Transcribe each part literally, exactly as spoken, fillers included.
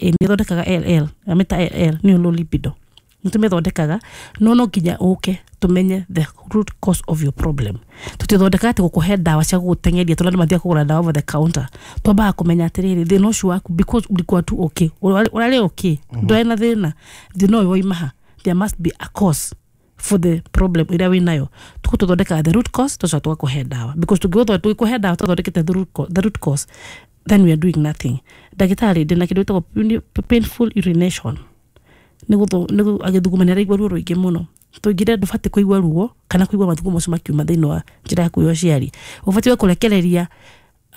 Ĩ, nĩ ĩthondekaga L L, amĩta L L nĩyo low libido. Nĩ tũmĩthondekaga, no no nginya ũke tũmenye the root cause of your problem. Tũtithondekaga atĩ gũkũhe ndawa cia gũgũteng'eria, tondũ andũ mathiaga kũgũra ndawa over the counter. Twambaga kũmenya atĩrĩrĩ, thĩna ũcio waku, because ulikuwa tu okay, ũrarĩ ũrarĩ okay, ndwarĩ na thĩna, thĩna ũyũ waima ha? There must be a cause for the problem ĩrĩa wĩnayo. Tũgũtũthondekaga the root cause, tũcoka tũgakũhe ndawa, because tũngĩgũtho- tũgĩkũhe ndawa tũthondekete the root co- the root cause, then we are doing nothing. Ndagĩtarĩ, ndĩna kĩndũ gĩtagwo painful urination. Nĩ agĩthuguma nĩ araigua ruo rũingĩ mũno. Tũingire ndũbatiĩ kũigua ruo kana kũigua mathugumo macio makiuma thĩinĩ wa njĩra yaku ya ũciari. Ũbatiĩ kũrekereria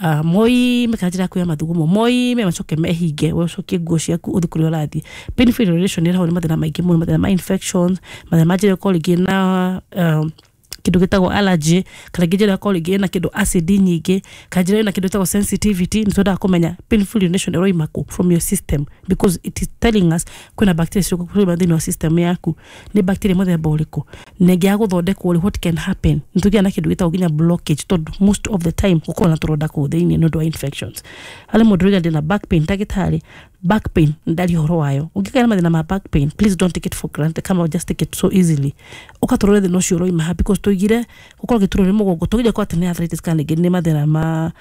uh, moime kana njĩra yaku ya mathugumo moime, macoke mehinge, we ũcokie nguo ciaku, ũthiĩ kũrĩa ũrathiĩ. Painful urination ĩrehagwo nĩ mathĩna maingĩ mũno, mathĩna ma infections, mathĩna ma njĩra ĩkorwo rĩngĩ na um, kĩndũ gĩtagwo allergy, kana rĩngĩ njĩra ĩkorwo rĩngĩ ĩna kĩndũ acid nyingĩ, kana njĩra ĩna kĩndũ gĩtagwo sensitivity. Nĩ twendaga kũmenya painful urination ĩroima kũ from your system, because it is telling us kwĩna bacteria ciroima thĩinĩ wa system yaku. Nĩ bacteria mũthemba ũrĩkũ? Na ĩngĩaga gũthondekwo rĩ, what can happen? Nĩ tũgĩaga na kĩndũ gĩtagwo nginya blockage, tondũ most of the time gũkorwo na tũronda kũu thĩinĩ nĩ ũndũ wa infections. Harĩ mũndũ ũrauga, "Ndĩna back pain, ndagĩtarĩ." Back pain, ndaria ũhoro wayo. Ũngĩgĩa na mathĩna ma back pain, please don't take it for granted, kama just take it so easily. Ũkatũrore thĩna ũcio ũroima ha, because tũigire gũkorwo gĩturwo nĩ mũgongo, tũgire kwa atĩ nĩ arthritis, kana rĩngĩ nĩ mathĩna ma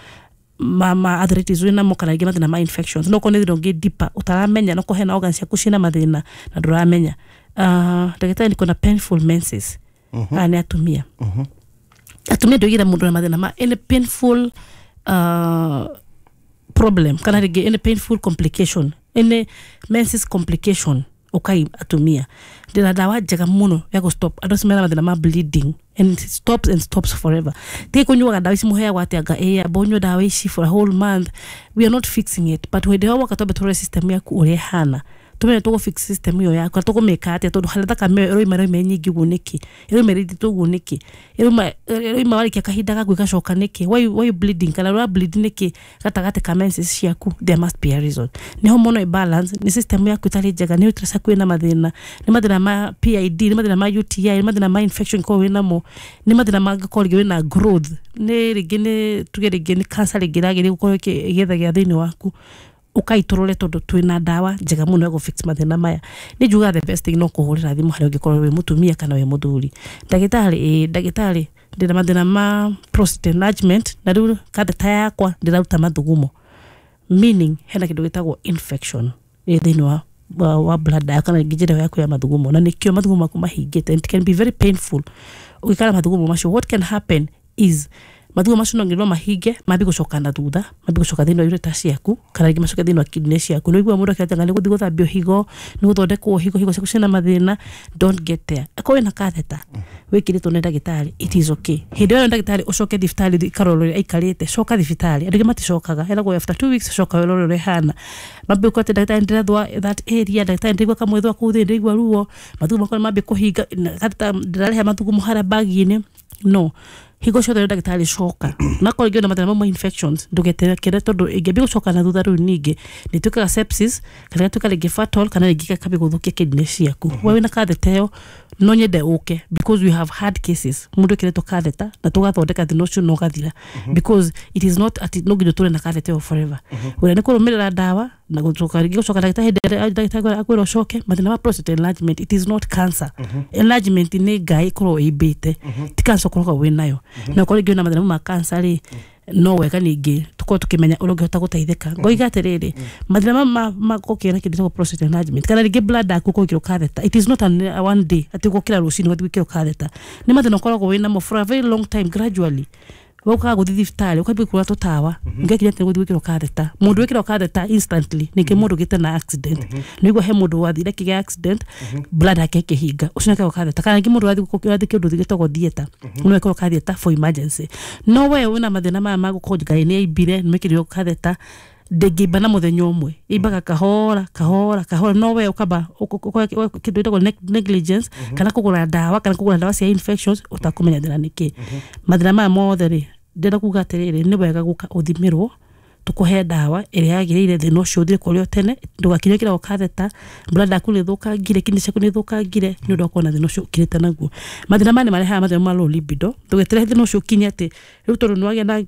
ma, ma arthritis wĩ namo, kana rĩngĩ mathĩna ma infections. No korwo nĩ thĩna ũngĩ deeper ũtaramenya, no korwo hena organs ciaku ciĩna mathĩna na ndũramenya. uh, ndagĩtarĩ niko na painful menses. Aya nĩ atumia. Atumia, ndoigire mũndũ na mathĩna ma any painful uh, problem, kana rĩngĩ any painful complication, any menses complication, ukai atumia. Ndĩna ndawa njega mũno ya gũ stop andũ acio mena mathĩna ma bleeding, and it stops and stops forever. Tige kũnyuaga ndawa ici mũheagwo atĩ anga ĩ amba ũnyue ndawa ici for a whole month. We are not fixing it, but hĩndĩ ĩyo woka twambe tũrore system yaku ũrĩa ĩhana, tumenye tũgũ fix system ĩyo yaku na tũkũmĩka atĩa, tondũ harĩa thakame ĩyo ĩroima ĩroima nyingĩ ũguo nĩkĩ? Ĩroima ĩrĩndĩtwo ũguo nĩkĩ? ĩroima ĩroima warĩkia kahinda gaku ĩgacoka nĩkĩ? why, why you bleeding, kana ũra bleed nĩkĩ gatagatĩ ka menses ciaku? There must be a reason. Nĩ hormonal imbalance, nĩ system yaku ĩtarĩ njega, nĩ uterus yaku ĩna mathĩna, nĩ mathĩna ma P I D, nĩ mathĩna ma U T I, nĩ mathĩna ma infection korwo wĩnamo, nĩ mathĩna mangĩkorwo rĩngĩ wĩna growth, nĩ rĩngĩ nĩ tuge rĩngĩ nĩ cancer rĩngĩ ĩragĩrĩire gũkorwo ĩkĩ- ĩgĩthegea thĩinĩ waku. Ũkaitũrũre, tondũ twĩna ndawa njega mũno ya gũ fix mathĩna maya. Nĩ njugaga the best thing no kũhũrĩra thimũ harĩa ũngĩkorwo wĩ mũtumia kana wĩ mũthuri. Ndagĩtarĩ, ĩĩ ndagĩtarĩ, ndĩna mathĩna ma prostate enlargement, na rĩu catheter yakwa ndĩraruta mathugumo, meaning hena kĩndũ gĩtagwo infection ĩ thĩinĩ wa wa, wa bladder yaku kana rĩngĩ njĩra yaku ya mathugumo, na nĩkĩo mathugumo maku mahingĩte, and it can be very painful ũgĩkara mathugumo macio. What can happen is mathugumo macio no nginya no mahinge, mambie gũcoka na thutha, mambie gũcoka thĩinĩ wa ureter ciaku, kana rĩngĩ macoke thĩinĩ wa kidney ciaku. Nĩ ũiguaga mũndũ akĩrataga nĩ gũthiĩ gũthambio higo, nĩ gũthondekwo higo, higo ciaku ciĩna mathĩna. Don't get there. Akorwo wĩna catheter wĩkĩrĩtwo nĩ ndagĩtarĩ, it is okay. Hĩndĩ ĩyo ndagĩtarĩ ũcoke thibitarĩ ikarorwo ũrĩa aikarĩte. Coka thibitarĩ. Andũ aingĩ maticokaga, eragwo after two weeks coka wĩrore ũrĩa ĩhana. Mambie gũkora atĩ, "Ndagĩtarĩ, ndĩrathũa that area. Ndagĩtarĩ, ndĩraigua kamwĩthũa kũu thĩinĩ, ndĩraigua ruo, mathugumo makwa nĩ mambie kũhinga na catheter ndĩrarehe mathugumo harĩa bag-inĩ." No hingo ciothe ndagĩtarĩ coka, nakorwo rĩngĩ wĩna mathĩna mau ma infections, ndũgeterekere, tondũ ĩngĩambia gũcoka na thutha rĩu ningĩ nĩ ĩtuĩkaga sepsis, kana ĩgatuĩka rĩngĩ fatal, kana rĩngĩ ĩkambia gũthũkia kidney ciaku. We wĩna catheter ĩyo, no nyende ũke, because we have had cases mũndũ ĩkĩrĩtwo catheter na tũgathondeka thĩna ũcio na ũgathira, because it is not atĩ no nginya ũtũre na catheter ĩyo forever. Wĩra nĩ kũrũmĩrĩra ndawa na gũcoka rĩngĩ, gũcoka ndagĩtarĩ hĩndĩ ĩrĩa ndagĩtarĩ akwĩra ũcoke. Mathĩna ma prostate enlargement, it is not cancer. Enlargement nĩ ngai ĩkorwo ĩimbĩte, ti cancer ũkoragwo wĩ nayo. Na ũkorwo rĩngĩ wĩna mathĩna ma cancer rĩ, no wega ningĩ tũkorwo tũkĩmenya ũrĩa ũngĩhota gũteithĩka. Ngoiga atĩrĩrĩ, mathĩna ma ma ma gũkĩra kĩndũ gĩtagwo prostate enlargement, kana rĩngĩ bladder yaku ũkorwo ĩkĩrwo catheter, it is not an, one day atĩ ũgũkĩra rũcinĩ ũgathiĩ gwĩkĩrwo catheter. Nĩ mathĩna ũkoragwo wĩ namo for a very long time. Gradually ũkaga gũthiĩ thibitarĩ, ũkambia kũgũra tũtawa, ngekire atĩ gũthiĩ gwĩkĩrwo catheter. Mũndũ wĩkĩrwo catheter instantly ningĩ mũndũ ũgĩte na accident. Nĩguo he mũndũ wathire kĩgĩa accident, bladder yake ĩkĩhinga, ũcio nĩekĩrwo catheter, kana ningĩ mũndũ wathiĩ wathiĩ kĩndũ gĩtagwo theatre, no ekĩrwo catheter for emergency. No we wĩna mathĩna maya ma gũkorwo ngai nĩ aimbire, nĩ mekĩrirwo catheter, ndĩngĩimba na mũthenya ũmwe, imbaga kahora kahora kahora. No we ũkamba kĩndũ gĩtagwo neg- negligence, kana kũgũra ndawa, kana kũgũra ndawa cia infections ũtakũmenya thĩna nĩkĩ. Mathĩna maya mothe rĩ, ndĩrenda kuga atĩrĩrĩ, nĩ wega gũka ũthimĩrwo, tũkũhe ndawa ĩrĩa yagĩrĩire, thĩna ũcio ũthire kũrĩ o tene, ndũgakinye kĩragwo catheter, bladder yaku nĩ ĩthũkangire, kidney ciaku nĩ ithũkangire nĩ ũndũ wa kuona thĩna ũcio ũkirĩte naguo. Mathĩna maya nĩ marehaga mathĩna ma low libido. Ndũgeterere thĩna ũcio ũkinye atĩ rĩu tondũ nĩ wagĩa na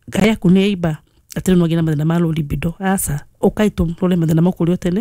ngai yaku nĩ yaimba, atĩ rĩu nĩ wagĩa na mathĩna ma low libido. Aca. Ũkai tũrore mathĩna mau kũrĩ o tene.